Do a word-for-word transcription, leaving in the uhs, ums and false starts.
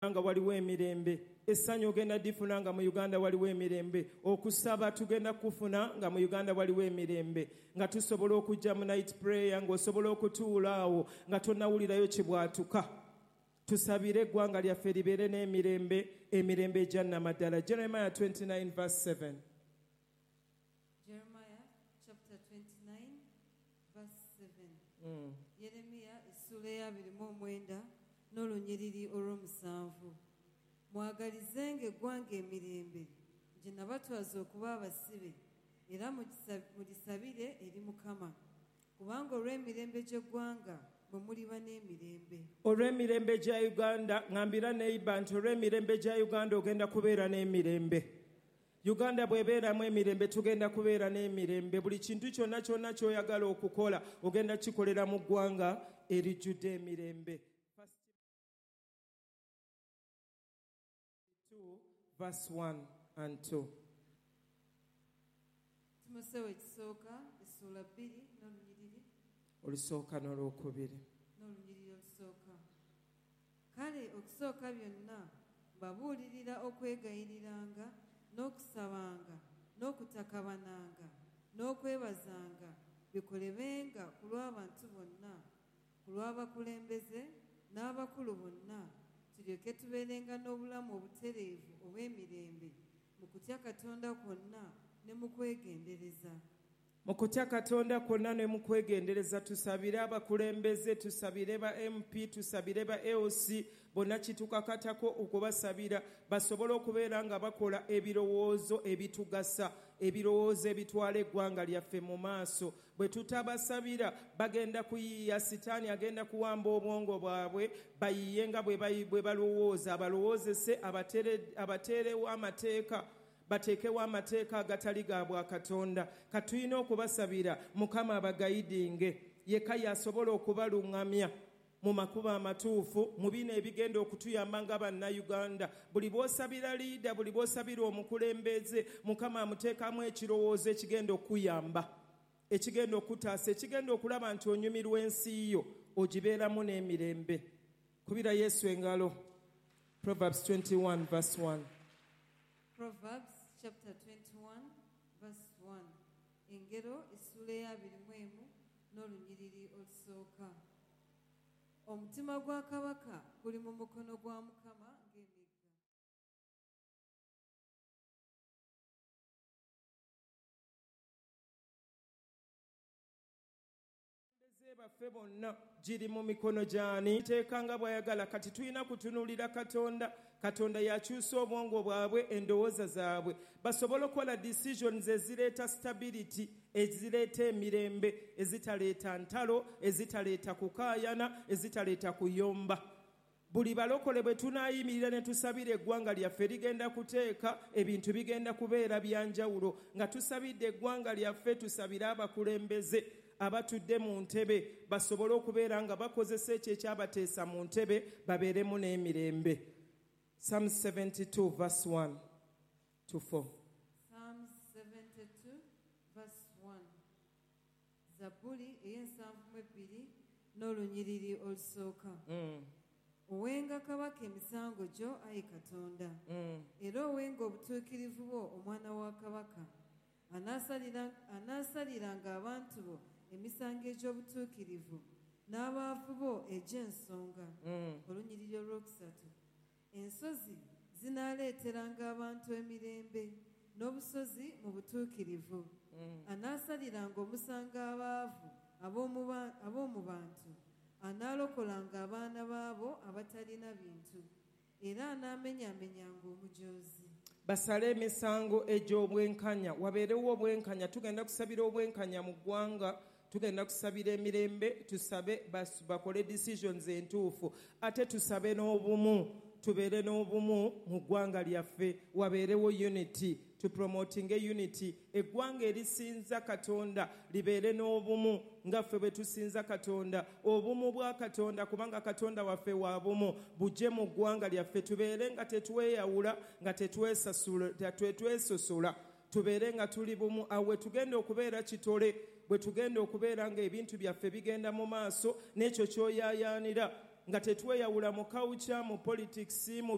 Nga waliwo emirembe, essanyu ogenda difuna nga mu Uganda waliwo emirembe, okusaba tugenda kufuna nga mu Uganda waliwo emirembe, nga tusobola okujja mu night prayer, ng'osobola okutuula awo nga tonnawulirayo kibwatuka. Tusabire eggwanga lyaffe libeere n'emirembe, emirembe egya nnamaddala. Jeremiah twenty-nine verse seven. Jeremiah chapter twenty-nine verse seven. Mm. Yeremiya essuula ey'abiri mu omwenda n'olunyiriri olw'omusanvu. Mwagalizenga eggwanga emirembe gye nabatwaza okuba abasibe, era mugisa-, mulisabire eri Mukama, kubanga olw'emirembe gy'eggwanga bwe muliba n'emirembe. Olw'emirembe gya Uganda, ŋŋambira neighbor nti olw'emirembe gya Uganda ogenda kubeera n'emirembe. Uganda bw'ebeeramu emirembe tugenda kubeera n'emirembe. Buli kintu kyonna kyonna ky'oyagala okukola ogenda kikolera mu ggwanga erijjudde emirembe. Verse one and two. Timoseewo ekisooka essuula bbiri n'olunyiriri. Olusooka n'olwokubiri. N'olunyiriri olusooka. Kale okusooka byonna mbabuulirira okwegayiriranga n'okusabanga n'okutakabananga n'okwebazanga bikolebenga ku lw'abantu bonna, ku lw'abakulembeze n'abakulu bonna, tulyoke tubeerenga n'obulamu obutereevu obw'emirembe mu kutya Katonda kwonna ne mu kwegendereza. Mu kutya Katonda kwonna ne mu kwegendereza, tusabire abakulembeze, tusabire ba M P, tusabire ba A O C, bonna kitukakatako okubasabira basobole okubeera nga bakola ebirowoozo ebitugasa, ebirowoozo ebitwala eggwanga lyaffe mu maaso. Bwe tutabasabira bagenda kuyiiya, Sitaani agenda kuwamba obwongo bwabwe, bayiiye nga bwe bayi-, bwe balowooza, abalowoozese, abatere-, abateerewo amateeka, bateekewo amateeka agatali ga bwa Katonda. Katulina okubasabira Mukama abagayidinge, yekka y'asobola okubaluŋŋamya mu makubo amatuufu, mu bino ebigenda okutuyamba nga bannayuganda. Buli bw'osabira leader, buli bw'osabira omukulembeze, Mukama amuteekamu ekirowoozo ekigenda okuyamba, ekigenda okutaasa, ekigenda okulaba nti onyumirwa ensi yo, ogibeeramu n'emirembe. Kubira Yesu engalo. Proverbs twenty-one verse one. Proverbs chapter twenty-one verse one. Engero essuula ey'abiri mu emu n'olunyiriri olusooka. Omutima gwa kabaka guli mu mukono gwa Mukama ng'emigga. Baffe bonna giri mu mikono gy'ani? Teeka nga bw'ayagala. Kati tulina kutunuulira Katonda. Katonda yakyusa obwongo bwabwe, endowooza zaabwe, basobole okukola decisions ezireeta stability, ezireeta emirembe, ezitaleeta ntalo, ezitaleeta kukaayana, ezitaleeta kuyomba. Buli balokole bwe tunaayimirira ne tusabira eggwanga lyaffe ligenda kuteeka, ebintu bigenda kubeera bya njawulo. Nga tusabidde eggwanga lyaffe, tusabire abakulembeze abatudde mu ntebe basobole okubeera nga bakozesa ekyo ekyabateesa mu ntebe, babeeremu n'emirembe. Psalm seventy-two verse one to four. Psalm seventy-two verse one. Zabbuli ey'ensanvu mu ebbiri n'olunyiriri olusooka. Mm. Owenga kabaka emisango gyo, ayi Katonda. Mm. Era owenga obutuukirivu bwo, omwana wa kabaka. Anaasalira, anaasaliranga abantu bo emisango egy'obutuukirivu, n'abaavu bo egy'ensonga. Mm. Olunyiriri olwokusatu. Ensozi zinaaleeteranga abantu emirembe, n'obusozi mu butuukirivu. Mm. Anaasaliranga omusango abaavu ab'omu ba-, ab'omu bantu, anaalokolanga abaana baabo abatalina bintu, era anaamenyaamenyanga omujoozi. Basale emisango egy'obwenkanya, wabeerewo obwenkanya. Tugenda kusabira obwenkanya mu ggwanga, tugenda kusabira emirembe, tusabe bas-, bakole decisions entuufu, ate tusabe n'obumu, tubeere n'obumu mu ggwanga lyaffe, wabeerewo unity, tupromotinge unity. Eggwanga erisinza Katonda libeere n'obumu nga ffe bwe tusinza Katonda. Obumu bwa Katonda, kubanga Katonda waffe wa bumu, bujje mu ggwanga lyaffe, tubeere nga tetweyawula, nga tetwesasula, tetwesosola, tubeere nga tuli bumu. Awo we tugenda okubeera kitole, bwe tugenda okubeera ng'ebintu byaffe bigenda mu maaso, n'ekyo ky'oyaayaanira Nga tetweyawula mu culture, mu politics, mu